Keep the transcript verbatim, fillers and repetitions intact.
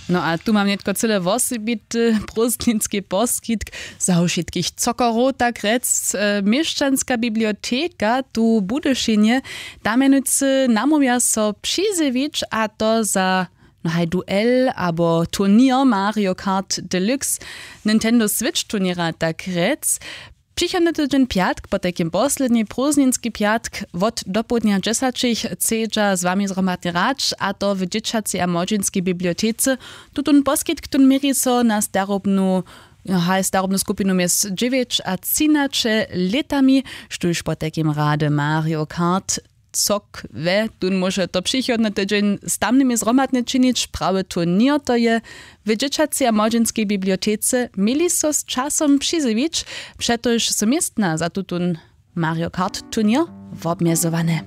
No a tu mam nětko cyle wosebity prózdninski poskitk za wšitkich cokorow, tak rjec. E, měšćanska biblioteka tu w Budyšinje, tam mjenujcy namołwja so přizjewić, a to za, no haj, duel abo turněr Mario Kart Deluxe, Nintendo Switch turněra, tak rjec. Přichodny tydźeń pjatk, potajkim posledni prózdninski pjatk, wot dopołdnja dźesaćich chcedźa z wami zhromadnje hrać, a to w dźěćacej a młodźinskej bibliotece. Tutón poskitk, tón měri so na starobnu, haj, starobnu skupinu mjez dźewjeć a třinaće lětami, štóž potajkim rady Mario Kart cok we, tón móže to přichodny tydźeń z tamnymi zhromadnje činić, prawy turněr to je. W dźěćacej a młodźinskej bibliotece měli so z časom přizjewić, přetož su městna za tutón Mario Kart turněr wobmjezowane.